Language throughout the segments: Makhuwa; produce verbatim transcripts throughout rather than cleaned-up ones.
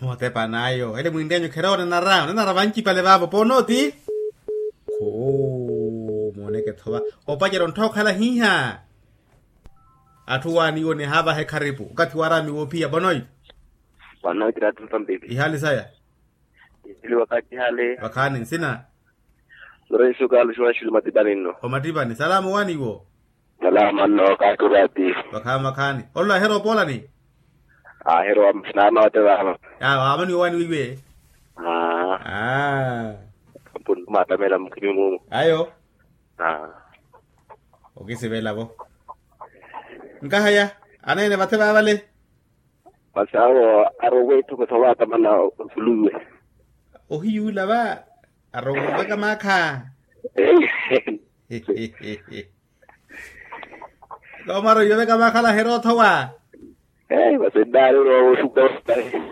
Motepa n'ayo ele mwintt'enyu kherowa onanara onanara vancipale vaavo ponooti. Khuu mooneke-tho va opacerya onttha okhala hiiha. Atthu waaniiwo nihaavaha ekharipu okathi waraamiwa ophiya bonoyi. Wanookira atthu mpampeli ihaali saya. Ipili wakati hale vakhaani nsina. Lorenso carlos wanxulu matipani nno. Omatipani salama owaaniiwo. Salama nno kaakirwati. Vakhaani vakhaani olola aherowa opoolani. Aherowa naana wate vaava. Aamaniwa owaaniwa iwe. Aa. Aa. Mpuntu maatamela mukhimi mumu. Ayo. Aa. Okisivela vo. Nkahaya aneene vathe vaavale. Masi awo arowa etthu kotho waatamana osuluwe. Ohiyuula va arowa oveka maakha. Looma arowa oveka maakha alaherya othowa. Masi nnaari orowa wosuka.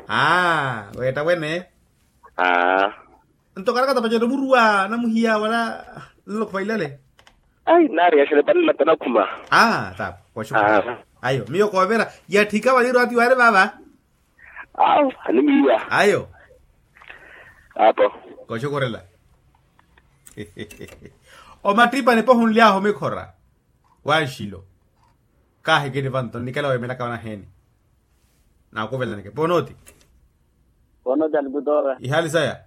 Aa weetta wene. Aa. Nto karakata pacerya omuruwa namuhiya wala nlokho vailale. Ai nari yaxele panela tanakhuma. Aa tapo koxukhurela. Ayo miyo koovera yatthika vaniiro ati waari vaava. Awu animiiwa ayo. Apo koxukhurela. Omattipani pohunly'ahu mikhora wanxilo. Kaahikini vanto nnikela weemelaka vanaheeni. Naakuvelaneke ponooti. Ponooti alikutoora ihaali saya.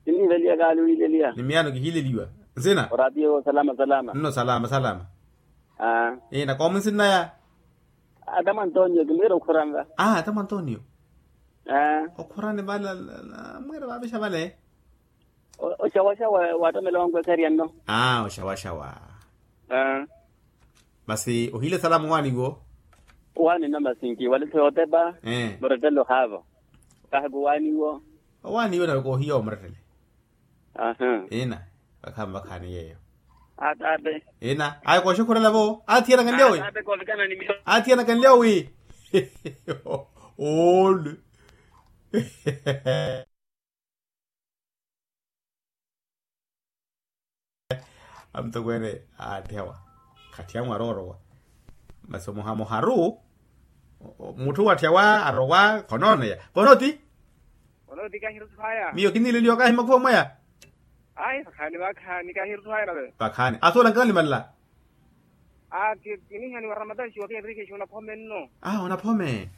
Kinniileliya kaali wiileliya ni miyaano kihiileliwa. Nsina oratiyo salama salama nno salama salama. Ina koomu nsinnaya. Atamu antonio kinwiira okhuranva. Atamu antonio. Okhurani vale. Mwiira vaavixa vale. Oxawaxa waatomela wankwekherya nno. Oxawaxa wa. Masi ohiile salama owaani wo. Owaani nno masi nkiwale-tho yootepa. Murettele ohaavo. Kahi kuwaani wo. Owaani wo nawe koohiya omurettele. Ina vakhaani vakhaani yeeyo. Ina ayo kooxukhurela vo athi anakanlyawi. Athi anakanlyawi. Ole. Amutokweene aatthiyawa khatthiyanwe aroorowa. Masi omuha muharu mutthu watthiyawa arowa khonooneya ponooti. Ponooti kahiruthwaya miyo kinniileliwa kahi makhuva mwaya. Ayi vakhaani vakhaani kahiruthwaya nave. Vakhaani asuwela nkanalimalela. Aa kinihaniwa ramatanxiwa kinrikhexiwa onaphome nno. Aa onaphome.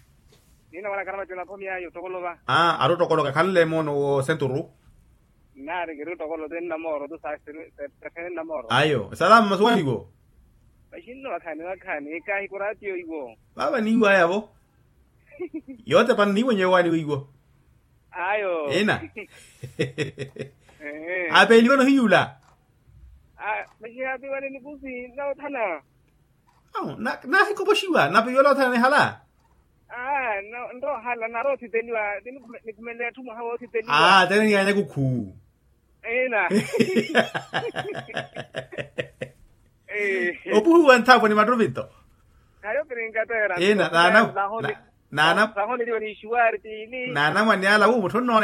Nina wala karamati onaphome ayo tokolo va. Aa ari otokoloka khanle moono wo senturu. Nnaari kiri otokolo ti nnamooro tu saasiri. Sefene nnamooro ayo salama masuwaniwo. Maxinno vakhaani vakhaani kahi kuratiyo iwo. Vaava niiwaya vo. Yootepa nniiwenye yowaani weiwo. Ayo ina. Apeeliwa nohiyula. Maxihaapiwale nikusi nawothana. Nahikopoxiwa napiwela othana nihala. Nrohala nari othipeliwa. Nikhumelela etthu mwaha woothipeliwa. Tene niyaanya kukhu. Ina. Opuhuwa nthapwe ni mattuvito. Khayo kirinkatera ina. Nahoneliwa ni ixuwari tiili. Naanamwane ala wu mutthu onnoona.